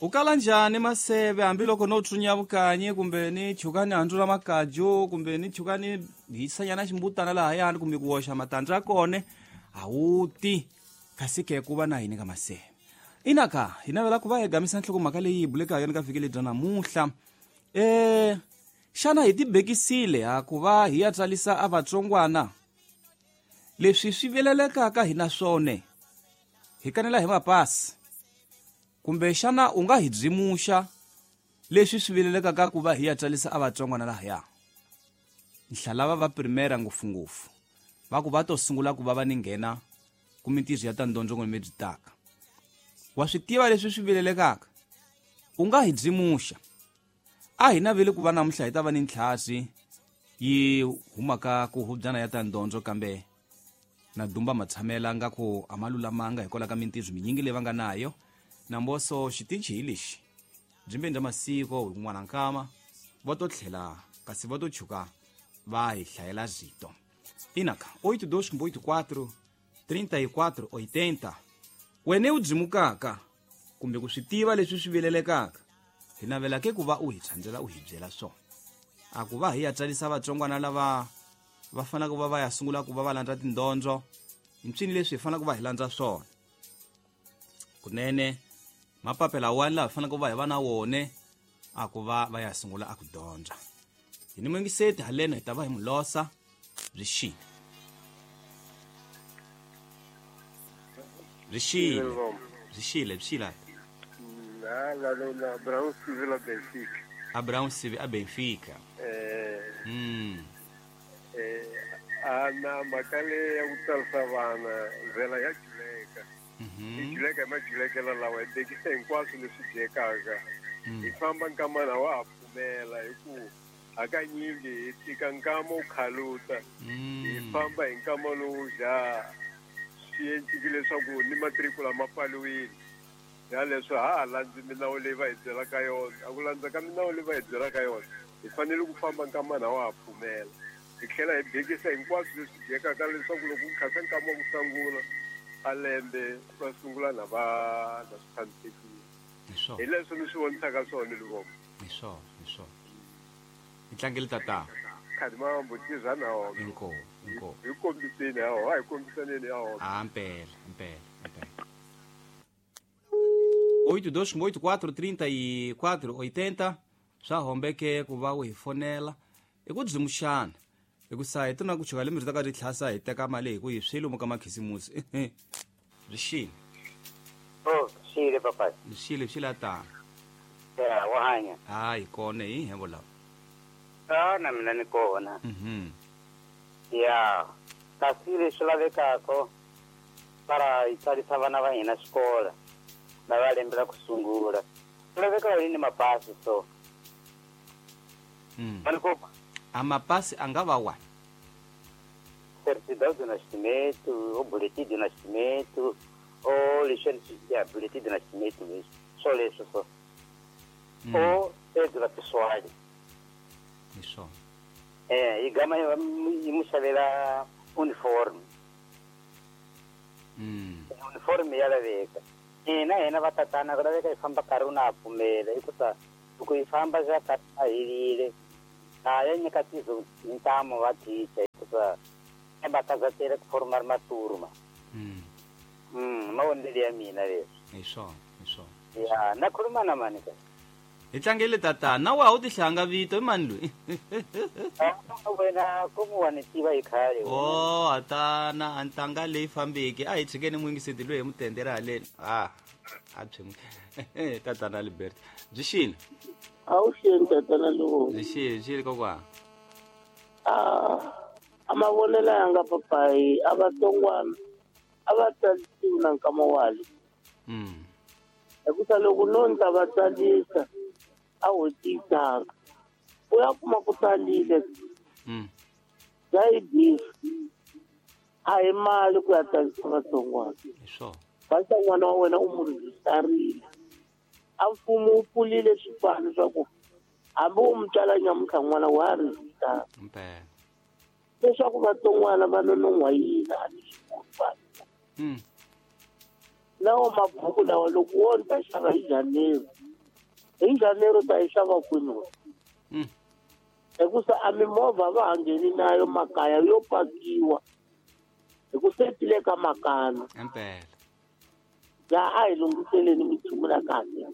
U kala njhani maseve hambiloko no tsunya vukanyi kumbe ni chuka ni handzula makaju kumbe ni chuka ni hisanyana ximbutana lahayani kumbe ku woxa matandza ya kone a wu ti kasi ke ku va na hini ka maseve inaka hi navela ku va hi gamisa nhlokomhaka leyi hi buleka yona ka vhiki lebyi namuhla xana hi tibekisile ha ku va hi ya tsarisa a vatsongwana leswi swi vilelekaka hi na swone hi kanela hi mapasi kumbe xana u nga hi byimuxa leswi swi vilelekaka ku va hi ya tsarisa a vatsongwana lahaya nhlalava va primera ngopfungopfu va ku va to sungula ku va va ni nghena ku mintirho ya ta ndondzo lebyi taka wa swi tiva leswi swi vilelekaka u nga hi byimuxa a hi naveli ku va namuntlha hi ta va ni ntlhasi yi humaka ku hubyana ya ta ndondzo kambe na dumba matshamela nga ku a ma lulamanga hikwalaho ka mintirho minyingi leyi va nga nayo namboso xitichi hi lexi byimbeni bya masiko hi kun'wana nkama va to tlhela kasi va to chuka va hi hlayela rito inaka 82 34 80 wena u dzimukaka kumbe ku swi tiva leswi swi vilelekaka hi navela ke ku va u hi tshandzela u hi byela swona a ku va hi ya tsarisa vatsongwana lava va faneleke ku va va ya sungula ku va va landza tindondzo hi mpsini leswi hi faneleke ku va hi landza swona kunene mapapela wani laha hi faneleke ku va hi va na wone a ku va va ya sungula a ku dyondza hi ni mungiseti haleno hi ta va hi mu losa byi xile byi xile byi xile byi xile Abraão Civil a Benfica. Abraão Civil a Benfica. Ana mhaka leyi ya ku tsarisa vana ndlela ya juleka. Yi juleka hi majulekelo lawa hi bekisa hinkwaswo leswi dyekaka. Hi famba nkamana wa ha pfumela hi ku hakanyingi hi tika nkama wu khaluta. Hi famba hi nkama lowu dya swi enciki leswaku ni matrikula ma pfaliwile. Ya leswi ha ha landzi milawu leyi va hi byelaka yona a ku landza ka milawu leyi va hi byelaka yona hi fanele ku famba nkamana wa ha pfumela hi tlhela hi bekisa hinkwaswo leswi dyekaka leswaku loko ku khasa nkama wa ku sungula a lembe va sungula na va na swi tshamisekile hi leswi ni swi vonisaka swona Livombo. Hi swona hi swona hi tlangele tata khadimambo tirha na wona inkomu inkomu hi kombiseni ya hi kombisaneni ya wona a mpela mpela mpela 82 84 34 80 swa hombeke ku va u hi fonela i ku byimuxana hi ku sa hi tona ku chuka lembe ri ta ka ri tlhasa hi teka mali hi ku hi swi lomu ka makhisimusi byi xile Oh, xile papa. byi xile byi xile tana Ya, wa hanya. hayi kona hi hembo lava Ah, na mina ni kona. Ya, kasi leswi lavekaka para hi tsarisa vana va hina xikolo lava lembe ra ku sungula ku laveka yini mapasi so A mapasi a nga va wani certidão de nascimento ou boletim de nascimento ou licença ya boletim de nascimento mesmo só leswo so ou cédula pessoal hi swona yi gama yi mu xavela uniform uniform ya laveka hina hina va tatana ku laveka hi famba nkarhi wu na ha pfumela hikusa loko hi famba swa karhi a helile a ya nyika tizo ntamu va teacher hikusa va kazatela ku forma maturma mavonelo ya mina leswi hi swona hi swona ya na khuluma na mani ka hi tlangele tatana na wa u tihlanga vito i mani loyi wena komu wa ni tiva hi khale o atana a ntanga leyi fambeki a hi tshikeni muyingiseti loyi hi mutendera haleni a a byi tatana Albert byi xile a wu xeni tatana lowu byi xile byi xile kokwana a mavonelo ya nga papayi a vatsongwana a va tsarisiwi na nkama wale hikusa loko no ndla va tsarisa a ho tiyisaka u ya kuma ku tsalile bya yi bifi a hi mali ku ya tsarisa vatsongwana basa n'wana wa wena u mu rejistarile a mfumo wu pfulile swipano swa ku hambi u mu tswala nyamuntlha n'wana wa rejistara leswaku vatsongwana va nonon'hwa yini a ni swi koti lawa mabhuku lawa loko wo ni ta xava hi January Hi Janeiro ta yi xava kwini wena? Hikusa a mimovha va ha ngheni nayo makaya yo pakiwa hi ku setile ka makana. Impela. Ya a hi lunghiseleni minchumu la kahle.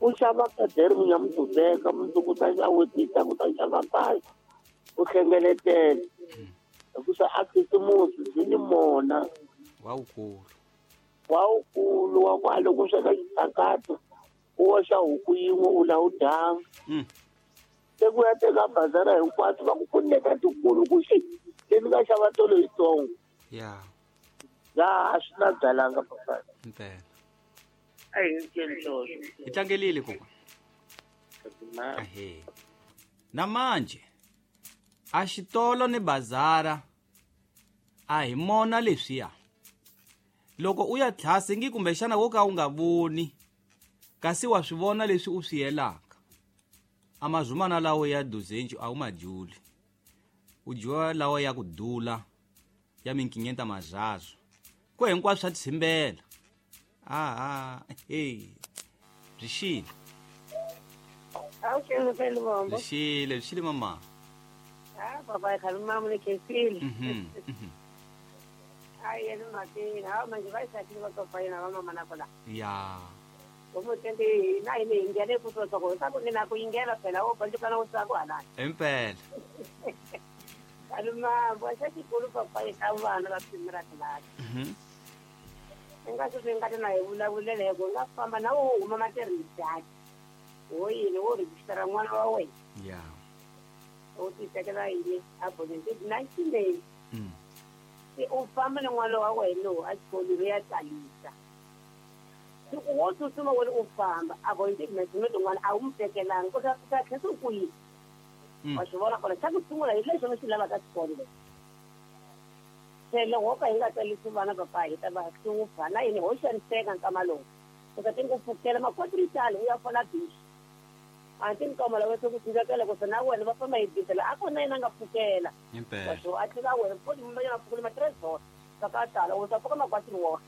U xava kadere munyamudubeka mundzuku ta xawetisa ku ta xava kahle u hlengeletela. Hikusa a khisimusi byi ni mona wawukulu wa ku a loko u sweka xitshakato u oxa huku yin'we u la u dyanga. Se ku ya teka bazara hinkwato va ku pfuneka tikulu ku xi le ni nga xava tolo yitsongo. Ya. Ya a swi na byalanga papa. Impela. A hi nceni swoswo. Hi tlangelile kokwa. Ahe. Na manje a xitolo ni bazara a hi mona leswiya. Loko u ya tlhasi ngi kumbexana wo ka u nga voni kasi wa swi vona leswi u swi yelaka. Amazumana lawo ya duzenju a wu majuli. U dyiwa lawa ya ku dula ya minkinyenta mazazo. Ko hinkwaswo swa tshimbela. Aha, hey. Byi xile. Byi xile, byi xile mama. Ah, papa khaluma mune kesile. Ai yena makini, ha manje va isakile va tofayina va mama na kola. Ya. Umutendi na ine ingene kutoka ko ta ku na ku ingela phela o bantu kana utsako ala. Impela. Kaluma bosa xikulu papa eka vana va pimela tlilasi. Nga swi nga na hi vulavulele ku nga famba na wo huma maternity. Wo yini wo register n'wana wa wena. Ya. U ti tekela yini a bonete 19 days. Se u famba na n'wana wa wena a xikolweni ya tsalisa. Loko wo tsutsuma wena u famba a bonete 19 n'wana a wu mu tekelanga u ta tlhela u ku yini. Wa swi vona kona xa ku sungula hi lexi va xi lavaka xikolo lexi. Se loko wo ka hi nga tsalisi vana papa hi ta va hlupha na yini ho xaniseka nkama lowu. U ta tingo pfukela makwatritali u ya fola bisi. A ti nkama lawa se ku cinca ku se na wena va famba hi bisi la a ku na yena nga pfukela. Impela. So a tlhela wena futhi mumba ya pfukela ma-transport ka ka tala u ta pfuka makwatri wona.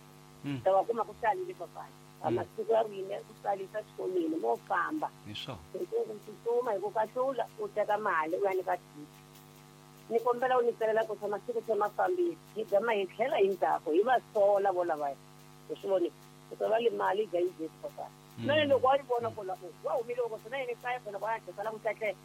Ta va kuma ku tsalile papa. A masiku ya wina ku tsalisa xikolweni mo famba. Hi swona. Ku tsutsuma hi ku kahlula u teka mali u ya nyika tiki. Ni kombela u ni tsalela ku tshama siku tshama fambile hi gama hi tlhela hi ndzhaku hi va sola vo lavaya. U swi voni ku ta va le mali dya yi dye papa. Na loko wa yi vona ku la wa humile loko swi na yini kaya phela va ya sala ku tlatle.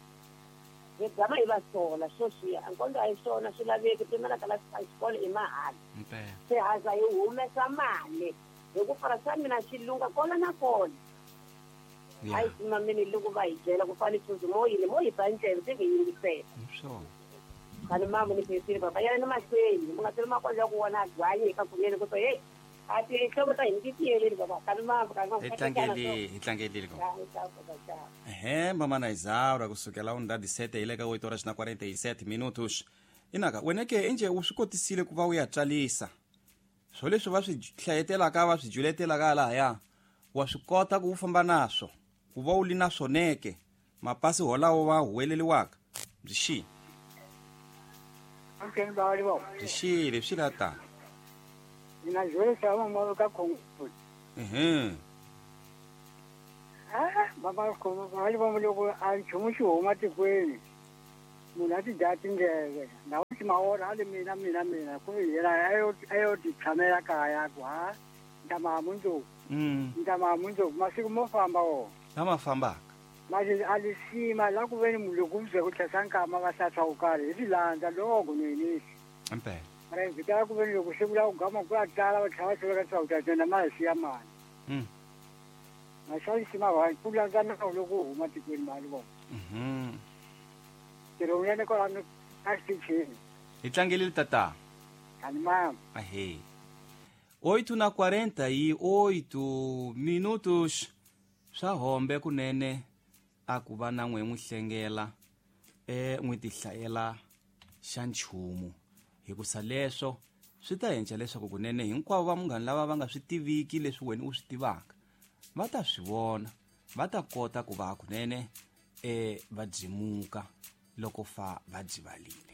Hi gama hi va sola swo swiya a nkondo a hi swona swi laveki pimela ka la xikolo i mahala. Impela. Se haza hi humesa mali hi ku fara swa mina xi lunga kona na kona. A yi simamini loko va hi byela ku fane tsundzu mo yini mo hi ba ndleve se hi yingisela. Swona. Khale mama ni phesile papa ya ni mahlweni mu nga teli makwalo ya ku vona gwanyi eka kunene ku to hey a ti hlovo ta hina ti tiyeleni papa khale mama khale mama. Hi tlangelile, hi tlangelile ko. Ehe, mama na Isaura kusukela undadi 7 hi le ka 8 horas na 47 minutos. Inaka wena ke enje u swi kotisile ku va u ya tsalisa. Swo leswi va swi hlayetelaka va swi juletelaka lahaya wa swi kota ku u famba naswo ku va u li na swoneke mapasi holawo va huweleliwaka. Byi xile. Byi xile, byi xile ta. Mina jwele mama ka Congo. Ah, mama Congo, ba ba loko a nchumu xi huma tikweni. Munhu a ti dya tindleve. Na u ti maora a le mina mina mina ku yena ayo ti tshamela kaya ku ha ndama mundzuku. Ndama mundzuku masiku mo famba wo. Lama fambaka. Manje a li sima la ku veni munhu loko mze ku tlhesa nkama va hlatshwa ku karhi hi tilandza loko ni. Impela. Mara ndzi ta ku veni loko se ku la ku gama ku ya tala va tlhela va hluleka leswaku ta dyondza mali siya mali. Maxavisi ma va ku landza nawu loko u huma tikweni mali vona. Ntirho ya ni kwalano a xitichini. Hi tlangelile tata. Ani mama. Ahee. 8:48 minutos swa hombe kunene a ku va na n'we n'wi hlengela n'wi tihlayela xa nchumu hikusa leswo swi ta endla leswaku kunene hinkwavo va munghana lava va nga swi tiviki leswi wena u swi tivaka va ta swi vona va ta kota ku va kunene va byimuka loko fa va byivalile.